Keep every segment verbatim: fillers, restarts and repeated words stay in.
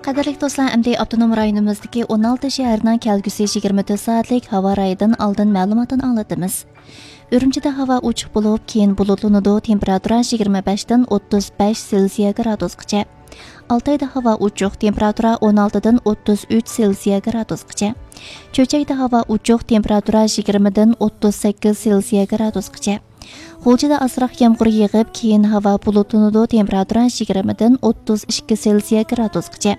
قەدىرلىك دوستلار، ئەمدى ئاپتونوم رايونىمىزدىكى ئون ئالتە شەھەرنىڭ كەلگۈسى يىگىرمە تۆت سائەتلىك ھاۋا رايىدىن ئالدىن مەلۇماتنى ئاڭلىتىمىز. ئۈرۈمچىدە ھاۋا ئوچۇق بولۇپ، كېيىن بۇلۇتلىنىدۇ، تېمپېراتۇرا يىگىرمە بەشتىن ئوتتۇز بەش سېلسىيە گرادۇسقىچە. ئالتايدا ھاۋا ئوچۇق، تېمپېراتۇرا ئون ئالتىدىن ئوتتۇز ئۈچ سېلسىيە گرادۇسقىچە. چۆچەكتە ھاۋا ئوچۇق، تېمپېراتۇرا يىگىرمىدىن ئوتتۇز سەككىز سېلسىيە گرادۇسقىچە. غۇلجىدا ئازراق يامغۇر يېغىپ، كېيىن ھاۋا بۇلۇتلىنىدۇ، تېمپېراتۇرا يىگىرمىدىن ئوتتۇز ئىككى سېلسىيە گرادۇسقىچە.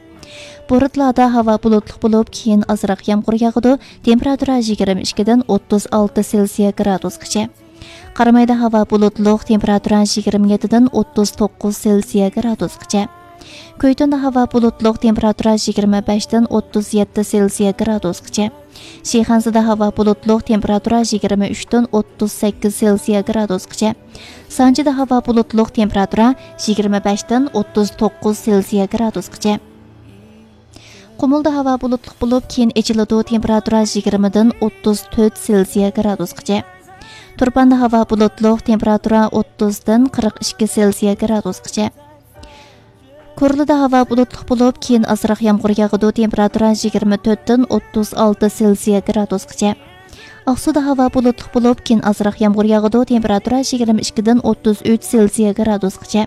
بورتالادا ھاۋا بۇلۇتلۇق بولۇپ، كېيىن ئازراق يامغۇر ياغىدۇ، تېمپېراتۇرا يىگىرمە ئىككىدىن ئوتتۇز ئالتە سېلسىيە گرادۇسقىچە. قارامايدا ھاۋا بۇلۇتلۇق، تېمپېراتۇرا يىگىرمە يەتتىدىن ئوتتۇز توققۇز سېلسىيە گرادۇسقىچە. كۆيتۈندە ھاۋا بۇلۇتلۇق، تېمپېراتۇرا يىگىرمە بەشتىن ئوتتۇز يەتتە سېلسىيە گرادۇسقىچە. شىخەنزىدە ھاۋا بۇلۇتلۇق، تېمپېراتۇرا يىگىرمە ئۈچتىن ئوتتۇز سەككىز سېلسىيە گرادۇسقىچە. سانجىدا ھاۋا بۇلۇتلۇق، تېمپېراتۇرا يىگىرمە بەشتىن ئوتتۇز توققۇز سېلسىيە گرادۇسقىچە. قۇمۇلدا ھاۋا بۇلۇتلۇق بولۇپ، كېيىن ئېچىلىدۇ، تېمپېراتۇرا يىگىرمىدىن ئوتتۇز تۆت سېلسىيە گرادۇسقىچە. تۇرپاندا ھاۋا بۇلۇتلۇق، تېمپېراتۇرا ئوتتۇزدىن قىرىق ئىككى سېلسىيە گرادۇسقىچە. كورلىدا ھاۋا بۇلۇتلۇق بولۇپ، كېيىن ئازراق يامغۇر ياغىدۇ، تېمپېراتۇرا يىگىرمە تۆتتىن ئوتتۇز ئالتە سېلسىيە گرادۇسقىچە. ئاقسۇدا ھاۋا بۇلۇتلۇق بولۇپ، كېيىن ئازراق يامغۇر ياغىدۇ، تېمپېراتۇرا يىگىرمە ئىككىدىن ئوتتۇز ئۈچ سېلسىيە گرادۇسقىچە.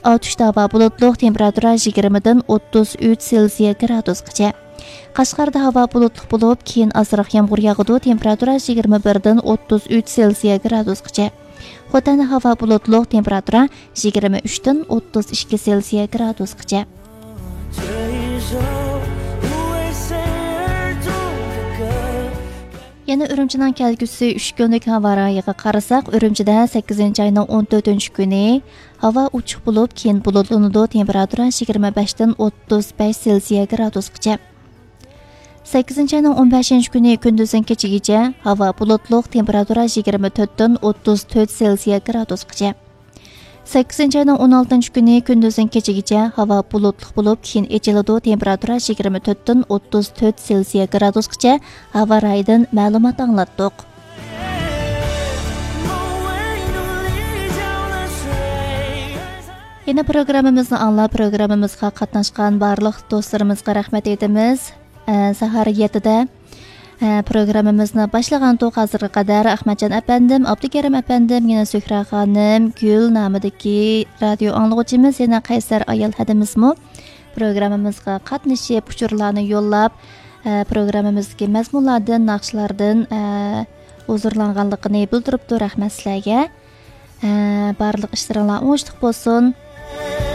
ئاتۇشتا ھاۋا بۇلۇتلۇق، تېمپېراتۇرا يىگىرمىدىن ئوتتۇز ئۈچ سېلسىيە گرادۇسقىچە. قەشقەردە ھاۋا بۇلۇتلۇق بولۇپ، كېيىن ئازراق يامغۇر ياغىدۇ، تېمپېراتۇرا يىگىرمە بىردىن ئوتتۇز ئۈچ سېلسىيە گرادۇسقىچە. خوتەندە ھاۋا بۇلۇتلۇق، تېمپېراتۇرا يىگىرمە ئۈچتىن ئوتتۇز ئىككى سېلسىيە گرادۇسقىچە. يەنە ئۈرۈمچىنىڭ كەلگۈسى ئۈچ كۈنلۈك ھاۋا رايىغا قارىساق، ئۈرۈمچىدە سەككىزىنچى ئاينىڭ ئون تۆتىنچى كۈنى ھاۋا ئوچۇق بولۇپ، كېيىن بۇلۇتلىنىدۇ، تېمپېراتۇرا يىگىرمە بەشتىن ئوتتۇز بەش سېلسىيە گرادۇسقىچە. سەككىزىنچى ئاينىڭ ئون بەشىنچى كۈنى كۈندۈزدىن كېچىگىچە ھاۋا بۇلۇتلۇق، تېمپېراتۇرا يىگىرمە تۆتتىن ئوتتۇز تۆت سېلسىيە گرادۇسقىچە. سەككىزىنچى ئاينىڭ ئون ئالتىنچى كۈنى كۈندۈزدىن كېچىگىچە ھاۋا بۇلۇتلۇق بولۇپ، كېيىن ئېچىلىدۇ، تېمپېراتۇرا يىگىرمە تۆتتىن ئوتتۇز تۆت سېلسىيە گرادۇسقىچە. ھاۋا رايىدىن مەلۇمات ئاڭلاتتۇق. يەنە پروگراممىمىزنى ئاڭلاپ، پروگراممىمىزغا قاتناشقان بارلىق دوستلىرىمىزغا رەھمەت ئېيتىمىز. ئە، ساھار يەتتىدە، ئە، پروگراممىمىزنى باشلىغانتۇق. ھازىرغا قەدەر ئەخمەتجان ئەپەندىم، ئابدۇكېرىم ئەپەندىم، يەنە زۆھرە خانىم، گۈل نامىدىكى رادىيو ئاڭلىغۇچىمىز، يەنە قەيسەر ئايال ھەدىمىزمۇ پروگراممىمىزغا قاتنىشىپ، ئۇچۇرلارنى يوللاپ، ئە، پروگراممىمىزدىكى مەزمۇنلاردىن، ناخشىلاردىن، ئە، ھۇزۇرلانغانلىقىنى بىلدۈرۈپتۇ. رەھمەت سىلەرگە. ئە، بارلىق ئىشلىرىڭلار ئوڭۇشلۇق بولسۇن.